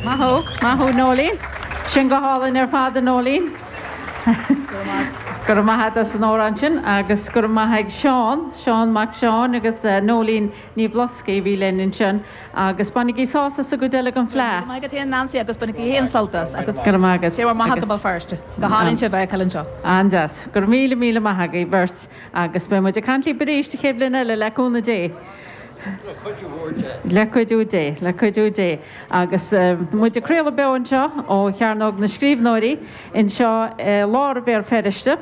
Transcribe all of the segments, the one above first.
Maith thú, maith thú Noeleen. Sin go hálainn ar fad a Noeleen. Go raibh maith agat as an amhrán sin agus go raibh maith ag Seán, Seán Mac Seáin agus Noeleen Ní Bhloscaidh a bhí linn ansin agus bainigí sásamh sa gcuid eile den Fleadh. Go raibh maith agat féin Nancy agus bainigí féin sult as agus Go raibh maith agat. Sé bhur maith go Béal Feirste. Go hálainn sibh a fheiceáil anseo. An-deas. Go raibh míle míle maith agaibh beirt agus beidh muid ag caint libh arís an chéad bhliain eile le cúnamh Dé. Le cuidiú Dé. Le cuidiú Dé, le cuidiú Dé. Agus muid ag craoladh beo anseo ó Chearnóg na Scríbhneoirí anseo i lár Bhéal Feirste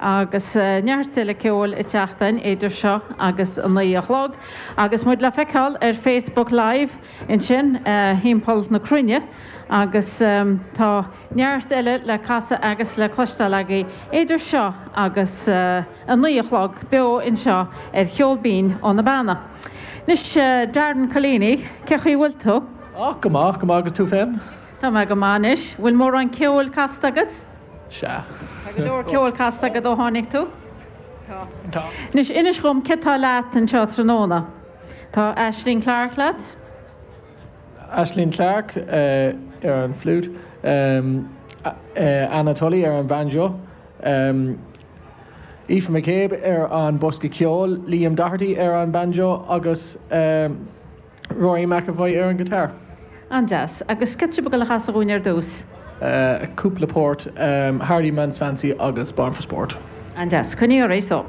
agus neart eile ceoil ag teacht againn idir seo agus a 9 a chlog. Agus muid le feiceáil ar Facebook Live ansin thimpeall na cruinne agus tá neart eile le casadh agus le cloisteáil agaibh idir seo agus a 9 a chlog beo anseo ar Cheol Binn ó na Beanna. Anois, Darren Collini, cé chaoi bhfuil tú? Á, go maith, go maith agus tú féin? Tá mé go maith anois. Bhfuil mórán ceoil casta agat? Sea. Tá go leor ceoil casta agat ó tháinig tú? Tá. Tá. Anois, inis dhom, cé tá leat anseo tráthnóna? Tá Aisling Clarke leat? Aisling Clarke ar an flute, Anna Tully ar an banjo, Aoife McCabe ar an bosca ceoil, Liam Doherty ar an banjo agus Rory McEvoy ar an guitar. An-deas. Agus céard tá sibh ag dul a chasadh dhúinn ar dtús? Cúpla port, Hardy Man's Fancy agus Born for Sport. An-deas. Coinnigh oraibh so.